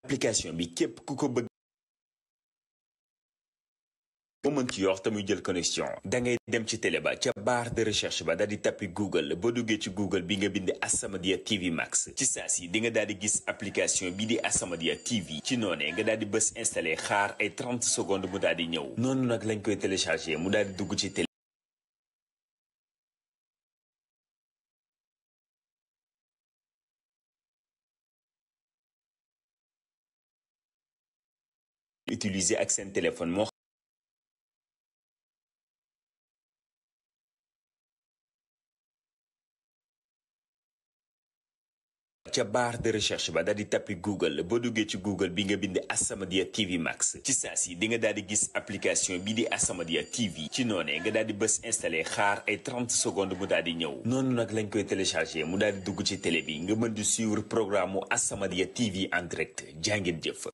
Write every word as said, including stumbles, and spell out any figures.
application bi képp ku ko bëgg boo mën ci yor te muy jël connexion da ngay dem ci télé ba ca barre de recherche ba daal di tappi Google boo duggee ci Google bi nga bind As-Samadiyya T V Max ci saa si di nga daal di gis application bi di As-Samadiyya T V ci noonee nga daal di bës installé xaar ay trente secondes mu daal di ñëw noonu nag lañ koy téléchargé mu daal di dugg ci télé utiliser ak seen téléphone moo ca barre de recherche ba daal di tappi Google boo duggee ci Google bi nga bind As-Samadiyya T V Max ci saa si di nga daal di gis application bi di As-Samadiyya T V ci noonee nga daal di bës installé xaar ay trente secondes mu daal di ñëw noonu nag lañ koy téléchargé mu daal di dugg ci télé bi nga mën di suivre programme mu As-Samadiyya T V en direct jàngeen jëf.